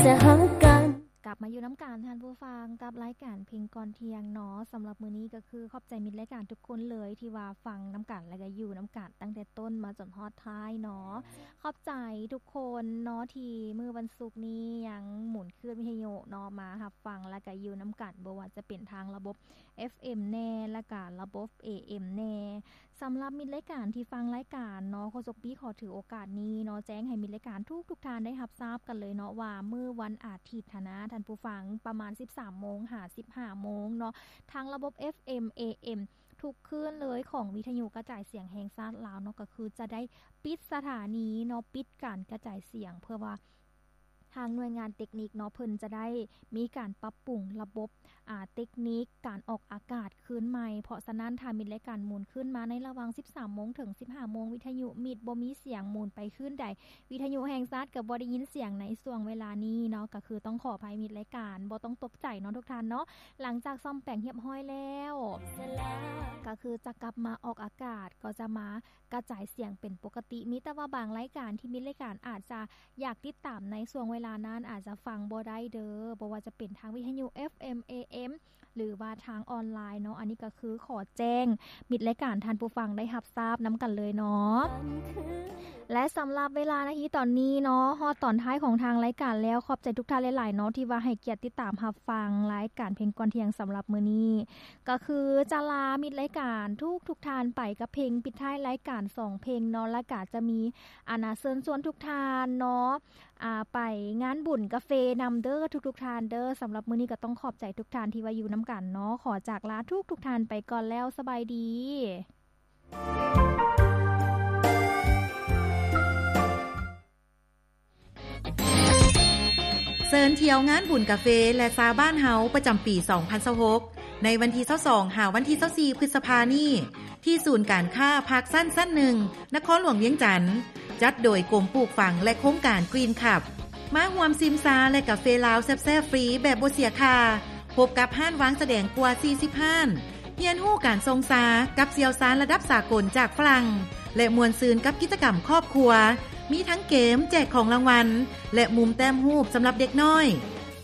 ກັບມາຢູ່ນຳກັນທ່ານຜູ້ຟັງ ກັບລາຍການເພງກ່ອນທ່ຽງເນາະ. ສຳລັບມື້ນີ້ກໍຄືຂອບໃຈມິດລາຍການທຸກຄົນເລີຍ ທີ່ວ່າຟັງນຳກັນ ແລະກໍຢູ່ນຳກັນຕັ້ງແຕ່ຕົ້ນມາຈົນຮອດທ້າຍເນາະ. ຂອບໃຈທຸກຄົນເນາະ ທີ່ມື້ວັນສຸກນີ້ຍັງໝູນຄື້ນວິທະຍຸເນາະ ມາຮັບຟັງ ແລະກໍຢູ່ນຳກັນ ບໍ່ວ່າຈະເປັນທາງລະບົບ ເອັຟເອັມ ແດ່ ແລະກະລະບົບ ເອເອັມ ແດ່. ສຳລັບມິດລາຍການທີ່ຟັງລາຍການເນາະ, ໂຄສົກປີ້ຂໍຖືໂອກາດນີ້ເນາະ ແຈ້ງໃຫ້ມິດລາຍການທຸກໆທ່ານໄດ້ຮັບຊາບກັນເລີຍເນາະ ວ່າມື້ວັນອາທິດຫັ້ນນະ ທ່ານຜູ້ຟັງ, ປະມານສິບສາມໂມງຫາສິບຫ້າໂມງເນາະ, ທາງລະບົບ ເອັຟເອັມ ເອເອັມ ທຸກຄື້ນເລີຍຂອງວິທະຍຸກະຈາຍສຽງແຫ່ງຊາດລາວເນາະ ກໍຄືຈະໄດ້ປິດສະຖານີເນາະ, ປິດການກະຈາຍສຽງ ເພື່ອວ່າ ທາງໜ່ວຍງານເຕັກນິກເນາະ ເພິ່ນຈະໄດ້ມີການປັບປຸງລະບົບ ອາ ເຕັກນິກການອອກອາກາດຄືນໃໝ່. ເພາະສະນັ້ນ ຖ້າມິດລາຍການໝູນຄືນມາໃນລະຫວ່າງສິບສາມໂມງເຖິງສິບຫ້າໂມງ, ວິທະຍຸມິດບໍ່ມີສຽງໝູນໄປຄືນໃດ, ວິທະຍຸແຫ່ງຊາດກໍບໍ່ໄດ້ຍິນສຽງໃນຊ່ວງເວລານີ້ເນາະ, ກໍຄືຕ້ອງຂໍອະໄພມິດລາຍການ, ບໍ່ຕ້ອງຕົກໃຈເນາະທຸກທ່ານເນາະ. ຫຼັງຈາກສ້ອມແປງຮຽບຮ້ອຍແລ້ວ ກໍຄືຈະກັບມາອອກອາກາດ, ກໍຈະມາ ກະຈາຍສຽງເປັນປົກກະຕິ. ມີແຕ່ວ່າບາງລາຍການທີ່ມິດລາຍການອາດຈະຢາກຕິດຕາມໃນຊ່ວງເວລານັ້ນ ອາດຈະຟັງບໍ່ໄດ້ເດີ, ບໍ່ວ່າຈະເປັນທາງວິທະຍຸ ເອັຟເອັມ ເອເອັມ ຫຼືວ່າທາງອອນລາຍເນາະ. ອັນນີ້ກໍຄືຂໍແຈ້ງມິດລາຍການທ່ານຜູ້ຟັງໄດ້ຮັບຊາບນຳກັນເລີຍເນາະ. ແລະ ສຳລັບເວລານາທີຕອນນີ້ເນາະ, ຮອດຕອນທ້າຍຂອງທາງລາຍການແລ້ວ. ຂອບໃຈທຸກທ່ານຫຼາຍໆເນາະ ທີ່ວ່າໃຫ້ກຽດຕິດຕາມຮັບຟັງລາຍການເພງກ່ອນທ່ຽງສຳລັບມື້ນີ້. ກໍຄືຈະລາມິດລາຍການທຸກໆທ່ານໄປກັບເພງປິດທ້າຍລາຍການສອງເພງເນາະ, ແລ້ວກະຈະມີ ອັນນາ ເຊີນຊວນທຸກທ່ານເນາະ ອາ ໄປງານບຸນກາເຟນຳເດີ ທຸກໆທ່ານເດີ. ສຳລັບມື້ນີ້ກໍຕ້ອງຂອບໃຈທຸກທ່ານທີ່ວ່າຢູ່ນຳກັນເນາະ. ຂໍຈາກລາທຸກໆທ່ານໄປກ່ອນແລ້ວ, ສະບາຍດີ. ເຊີນທ່ຽວງານບຸນກາເຟ ແລະ ຊາບ້ານເຮົາ ປະຈຳປີສອງພັນຊາວຫົກ ໃນວັນທີຊາວສອງ ຫາວັນທີຊາວສີ່ ພຶດສະພານີ້ ທີ່ສູນການຄ້າພາກຊັນ ຊັ້ນໜຶ່ງ ນະຄອນຫຼວງວຽງຈັນ, ຈັດໂດຍກົມປູກຝັງ ແລະ ໂຄງການ Green Cup. ມາຮ່ວມຊິມຊາ ແລະ ກາເຟລາວແຊບໆຟຣີແບບບໍ່ເສຍຄ່າ. ພົບກັບຮ້ານວາງສະແດງກວ່າສີ່ສິບຮ້ານ, ຮຽນຮູ້ການຊົງຊາກັບຊ່ຽວຊານລະດັບສາກົນຈາກຝຣັ່ງ ແລະ ມ່ວນຊື່ນກັບກິດຈະກຳຄອບຄົວ. ມີທັງເກມແຈກຂອງລາງວັນ ແລະ ມຸມແຕ້ມຮູບສຳລັບເດັກນ້ອຍ.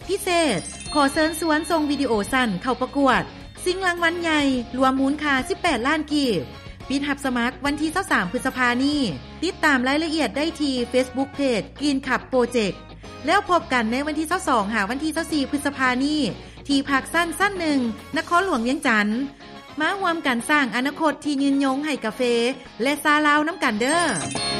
ພິເສດ, ຂໍເຊີນຊວນສົ່ງວິດີໂອສັ້ນເຂົ້າປະກວດຊິງລາງວັນໃຫຍ່ ລວມມູນຄ່າສິບແປດລ້ານກີບ. ປິດຮັບສະໝັກວັນທີຊາວສາມ ພຶດສະພານີ້. ຕິດຕາມລາຍລະອຽດໄດ້ທີ່ Facebook Page Green Cup Project. ແລ້ວພົບກັນໃນວັນທີຊາວສອງ ຫາວັນທີຊາວສີ່ ພຶດສະພານີ້ ທີ່ພາກຊັນ ຊັ້ນໜຶ່ງ ນະຄອນຫຼວງວຽງຈັນ. ມາຮ່ວມກັນສ້າງອະນາຄົດທີ່ຍືນຍົງໃຫ້ກາເຟ ແລະ ຊາລາວນຳກັນເດີ້.